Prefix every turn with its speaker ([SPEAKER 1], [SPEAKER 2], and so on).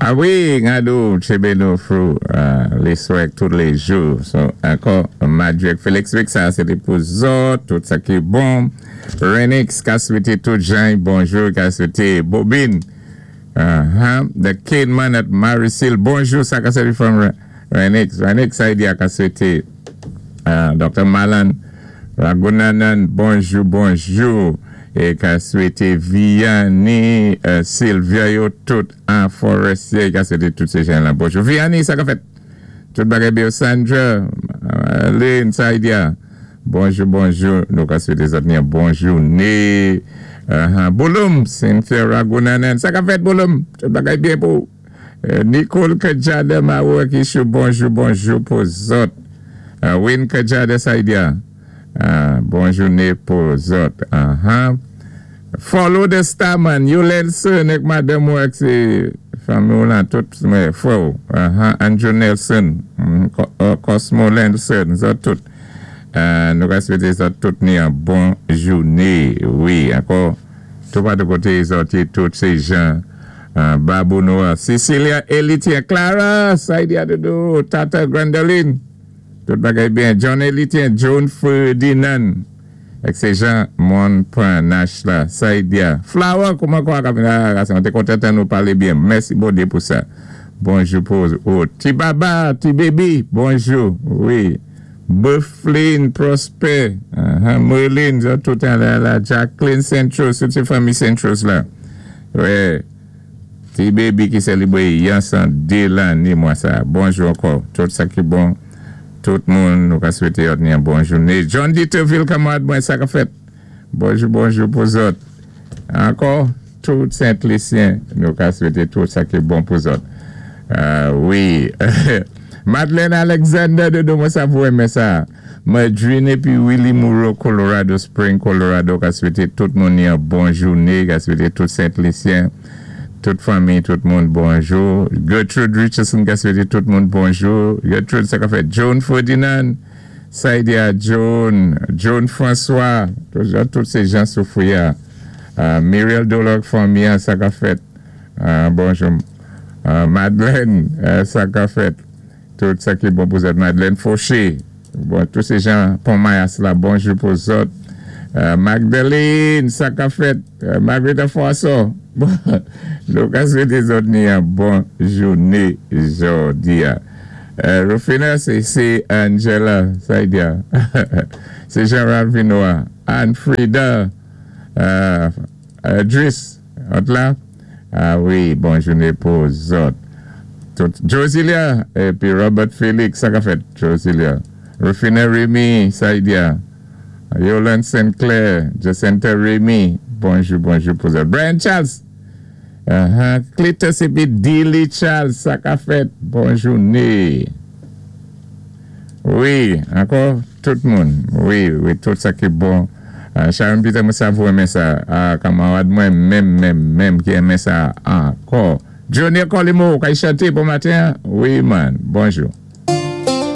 [SPEAKER 1] Ah wi, gadou, tchébé nou through léswè ak tout léjou. So, ankò, Madjou ak Félix Week sa sé té pou zòt, tout sa ki bon. Renix ka swété tout jan bonjou, ka swété Bobine. The Cademan at Marisil, bonjou, sa ka sèvi from Renix. Renix, sa di a ka swété Dr. Malan Ragunanan, bonjou, bonjou. É ka swété Vianney, Sylvia yo tout an Forestier, ka swété tout sé jan la bonjou. Vianney, sa ka fèt? Tout bagay byen. Sandra, Lynn, sa di a. Bonjou, bonjou. Nou ka swété zòt ni bon jouné. Bouloum, Cynthia Ragunanan. Sa ka fèt, Bouloum? Tout bagay byen pou. Nicole Kajada Maou Akishu, bonjou, bonjou pou zòt. Win Kajada Saidia. Bon jouné pou zòt. Follow the star man. Yolenson ak madanm ou ak sé fanmi ou lan tout frè ou. Andrew Nelson, Cosmo Nelson, zòt tout. Nou ka swété zòt tout ni an bon jouné. Wi, ankò tout patou koté zòt yé tout sé jan Babou Noir, Cecilia Elitien, Clara, Saidia Doudou, Tata Grandoline. Tout bagay byen. John Elitien, John Ferdinand. Ak sé jan moun pran nach la. Saidia. Flower, kouman kwa ka vin la? Mwen kontan tann nou palé byen. Mèsi Bondyé pou sa. Bonjou pou ou. Ti baba, ti baby, bonjou. Wi. Bufflin, Prosper, Merlin, tout an la la. Jacqueline Centros, tout sé fanmi Centros la. Wi. Ti baby ki sélébwé yon 102 lanné mwa sa. Bonjou ankò. Tout sa ki bon. Tout moun nou ka swété yo ni yon bon jouné. John Dieterville kanmarad mwen sa ka fèt. Bonjou bonjou pou zòt. Ankò tout Sent-Lisyen nou ka swété tout sa ki bon pou zòt. Wi. Madeleine Alexander dodo mwen sa pou renmen sa. Madrine épi Willy Moreau Colorado Spring Colorado ka swété tout moun yon bon jouné, ka swété tout Sent-Lisyen, tout fanmi, tout moun bonjou. Gertrude Richardson ka swété tout moun bonjou. Gertrude sa ka fèt. Joan Ferdinand, Saidia Joan, Joan François, tout, tout sé jan Soufouya. Muriel Dolor fanmi sa ka fèt. Bonjou. Madeleine, sa ka fèt. Tout sa ki bon pou zòt. Madeleine Fauché. Bon, tout sé jan Pon Mayas la, bonjou pou zòt. Magdalene, sa ka fèt. Margarita François. Bon, nou ka swété zòt ni yon bon jouné jòdi a. Rufina, sé Angela, sa di a. Sé Jean Ralph Vinoa. Anne Frida, Driss, ot la. Ah wi, bon jouné pou zòt. Tout Josilia épi Robert Felix, sa ka fèt Josilia. Rufina Remy, Saidia. Yolande Sinclair, Jacinta Remy, bonjou bonjou pou zòt. Brian Charles. Cletus épi Dilly Charles, sa ka fèt. Bon jouné. Wi, ankò tout moun. Wi, tout sa ki bon. Sharon Peter mwen sa pou renmen sa. Ah, kanmarad mwen menm menm menm ki renmen sa ankò. Junior Colimo, kay chanté bon maten. Wi man, bonjou.